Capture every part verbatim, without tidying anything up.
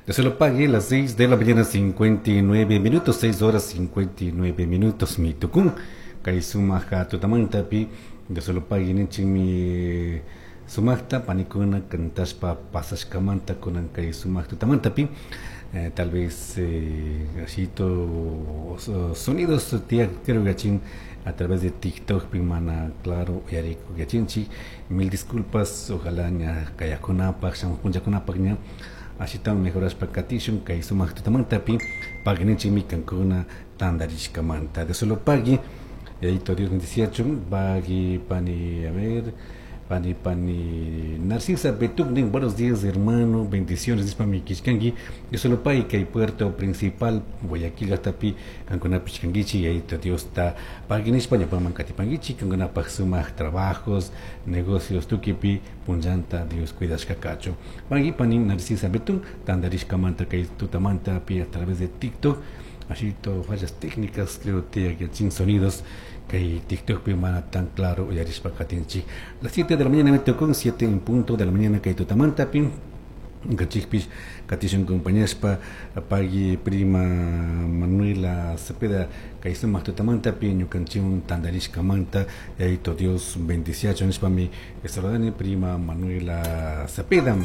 Dios lo pague las seis de la mañana cincuenta y nueve minutos, seis horas cincuenta y nueve minutos, mi tukun kay sumaja tutamantapi. Dios lo pague ninchikmi sumajta panikuna kantashpa pasashkamanta kunan kay sumaq tutamantapi. eh, tal vez eh, ashito sonidos tía creo que a través de TikTok mana claro uyariku yachinchik. Mil disculpas, ojalá ña kayakunapaq shamuq punllakunapaq ña ashitawan mejorashpa katishun. Kay sumaq tutamantapi pagui kankuna tandarishkamanta. Dios lo pague. Yayito Dios bendiciachun. Pagui pani, a ver, Pani pani Narcisa Betugnin, buenos días, hermano, bendiciones, nishpami killkanki. Dios lo pague kay puerto principal Guayaquil llaktapi kankuna pichkankichi. Yayito Diosta pagui nishpa ñawpaman katipankichi kankunapaj sumaq trabajos, negocios tukipi punllanta Dios cuidashka kachun. Pagui pani Narcisa Betún tandarishkamanta kay tutamanta pi a través de TikTok. Ashito fallas técnicas creo que sin sonidos kay TikTok pi mana tan claro uyarishpa katinchik. Las siete de la mañana me tocó, siete en punto de la mañana kay tutamanta pi kachikpish katishun compañashpa. Pagui prima Manuela Cepeda kay sumaq tutamanta pi ñukanchikwan tandarishkamanta. Yayito Dios bendiciachun nishpami saludani prima Manuela Cepeda.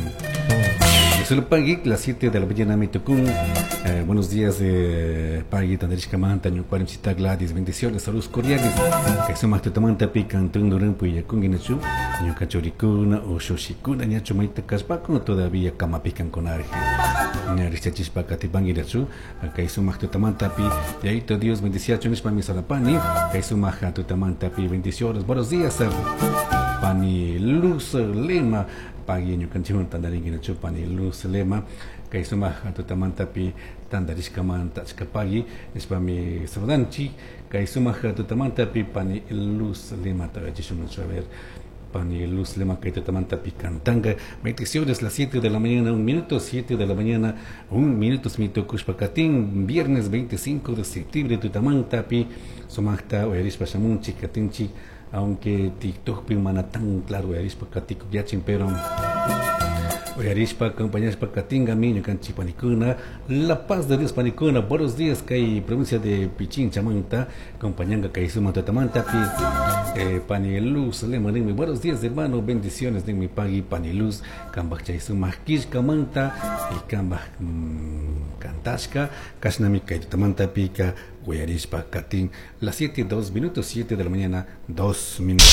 Solo pagui las siete de la mañana me tocó. eh, buenos días, eh, pagui tandarishkamanta ñukarim cita Gladys, bendiciones, saludos cordiales. Kay sumaq tutamanta pi kantun puyakunki nachu ñuka churikuna ushushikuna ñachu mayta kashpakuna todavía kamapi kankunarij ña rikchachishpa katipanki nachu kay sumaq tutamantapi. Yayito Dios bendiciachun nishpami salapani kay sumaq tutamantapi. Bendiciones, buenos días, pani Luz Lema. Pagui ñukanchikwan tandarinki nachu pani Luz Lema kay sumaq tutamantapi tandarishkamanta. Achka pagui nishpami saludanchik kay sumaq tutamantapi pani Luz Lema. Tagachishun, a ver, pani Luz Lema kay tutamantapi kantanga. Bendiciones. Las siete de la mañana un minuto, siete de la mañana un minuto mi tukushpa katin viernes veinticinco de septiembre tutamantapi sumaqta uyarishpa shamunchik katinchik, aunque TikTok pi mana tan claro uyarishpa katikuk yachin, pero uyarishpa acompañashpa katingami ñukanchik panikuna. La paz de Dios, panikuna. Buenos días kay provincia de Pichincha manta acompañanga kay sumaq tutamantapi. eh, pani Luz Lema ninmi: "Buenos días, hermano, bendiciones" ninmi. Pagui pani Luz kambaj chay sumaq killkamanta y kambaj mm, kantashka kashnami kay tutamantapika uyarishpa katin. Las siete dos minutos, siete de la mañana dos minutos.